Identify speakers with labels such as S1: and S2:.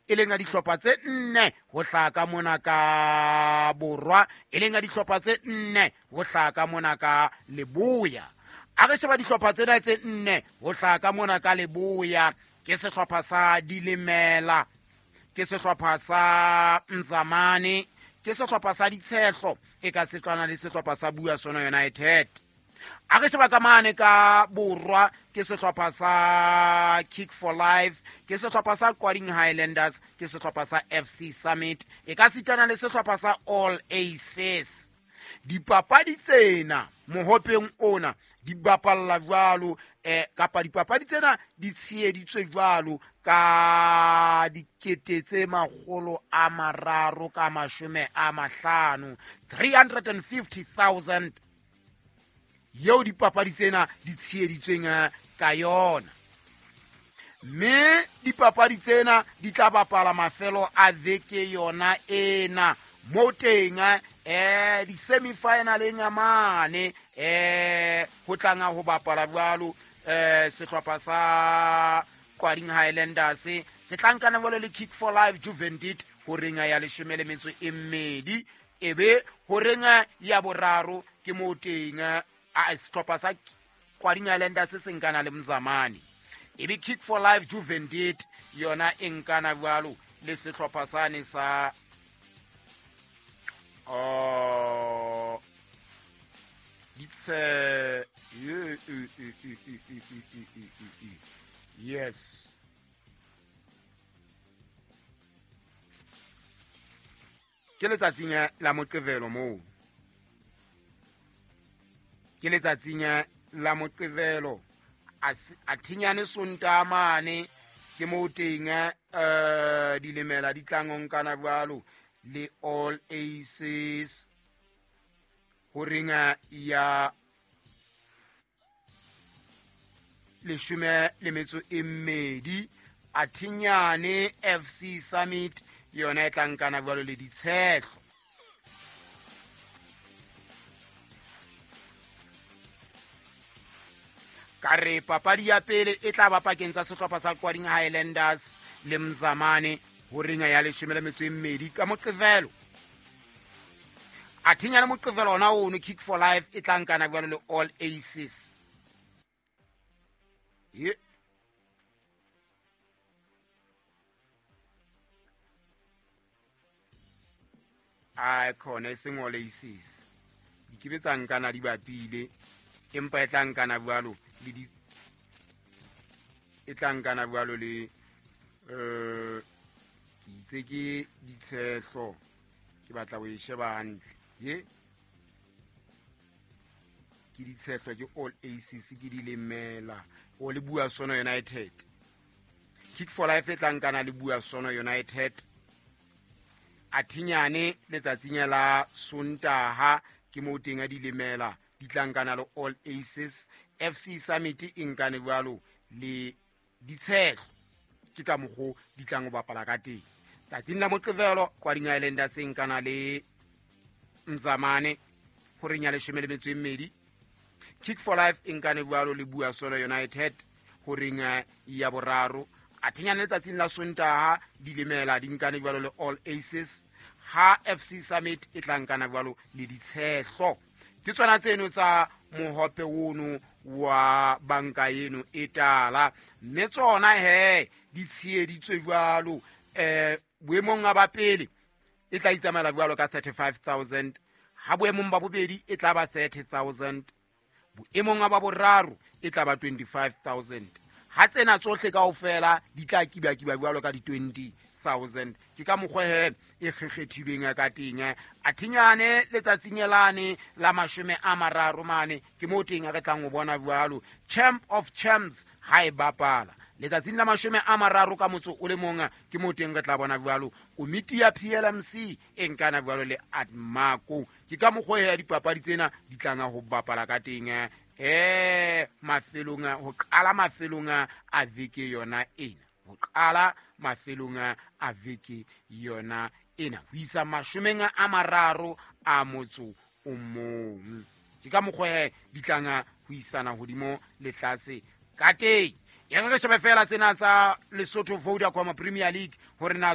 S1: e leng ya dihlopha tse 4 ho hlaha ka mona ka borwa, e leng ya dihlopha tse 4 ho hlaha ka mona ka leboya. A re sheba dihlopha tsena tse 4 ho hlaha ka mona ka leboya, ke sehlopha sa Dilemela, ke sehlopha sa Mzamane, ke sehlopha sa Ditshehlo, e ka setlwana le sehlopha sa Buasono United. A re sheba ka mane ka borwa, ke sehlopha sa Kick for Life, ke sehlopha sa Qwading Highlanders, ke sehlopha sa FC Summit, e ka sitana le sehlopha sa All Aces. Dipapadi tsena mohopeng ona di bapalla jwalo, kapa dipapadi tsena di tsheheditswe jwalo ka dikete tse makgolo a mararo ka mashome a mahlano, 350,000 yeo dipapadi tsena di tsheheditsweng ka yona. Mme dipapadi tsena di tla bapala mafelo a veke yona ena, mo teng di-semi-finaleng a mane, ho tlanga ho bapala jwalo, sehlopha sa Qwading Highlanders se tla nkana jwalo le Kick for Life Juventus ho renga ya leshome le metso e mmedi, ebe ho renga ya boraro ke mo teng, sehlopha sa Qwading Highlanders se nkana le Mzamane, ebe Kick for Life Juventus yona e nkana jwalo le sehlopha sane sa ditse, yes, ke letsatsing la Moqebelo moo, ke letsatsing la Moqebelo, a thinyane Sontaha mane, ke moo teng, Dilemela di tlang ho nkana jwalo le All Aces ho renga ya leshome le metso e mmedi. A thinyane FC Summit yona e tla nkana jwalo le Ditshehlo. Ka re papadi ya pele e tla ba pakeng tsa sehlopha sa Qwading Highlanders le Mzamane ho renga ya leshome le metso e mmedi ka Moqebelo. A thinya le Moqebelo ona ono, Kick for Life e tla nkana jwalo le All Aces. Ye. Ai, khona e seng All Aces. Di ke be tsa nkana di bapile, empa e tla nkana jwalo le di, e tla nkana jwalo le, ke itse ke Ditshehlo, ke batla ho e sheba hantle. Ye ke Ditshehlo, ke All Aces, ke Dilemela, o le Buasono United. Kick for Life e tla nkana le Buasono United. A thinyane letsatsing la Sontaha ke moo teng a Dilemela di tla nkana le All Aces. FC Summit e nkane jwalo le Ditshehlo, ke ka mokgo di tlang ho bapala ka teng. Tsatsing la Moqebelo Qwading Highlanders e nkana le Mzamane ho reng ya leshome le metso e mmedi. Kick for Life e nkane jwalo le Buasono United ho reng ya boraro. A thinyane letsatsing la Sontaha Dilemela di nkane jwalo le All Aces, ha FC Summit e tla nkana jwalo le Ditshehlo. Ke tsona tseno tsa mohope ono wa banka eno e tala, mme tsona he di tsheheditswe jwalo. Boemong ba pele e tla itsamaela jwalo ka 35,000, ha boemong ba bobedi e tla ba 30,000, boemong ba boraro e tla ba 25,000. Ha tsena tsohle kaofela di tla kiba-kiba jwalo ka di 20,000. Ke ka mokgwa he e kgekgethilweng ka teng. A thinyane letsatsing lane la mashome a mararo mane, ke moo teng re tlang ho bona jwalo Champ of Champs ha e bapala letsatsing la mashome a mararo ka motso o le mong, ke moo teng re tla bona jwalo komiti ya PLMC e nkana jwalo le Admaco. Ke ka mokgwa ya dipapadi tsena di tlanga ho bapala ka teng, mafelong, ho qala mafelong a veke yona ena, ho qala mafelong a veke yona ena ho isa mashomeng a mararo a motso o mong. Ke ka mokgwa he di tlanga ho isana hodimo le tlase ka teng. E re re shebe fela tsena tsa Lesotho Vodacom Premier League hore na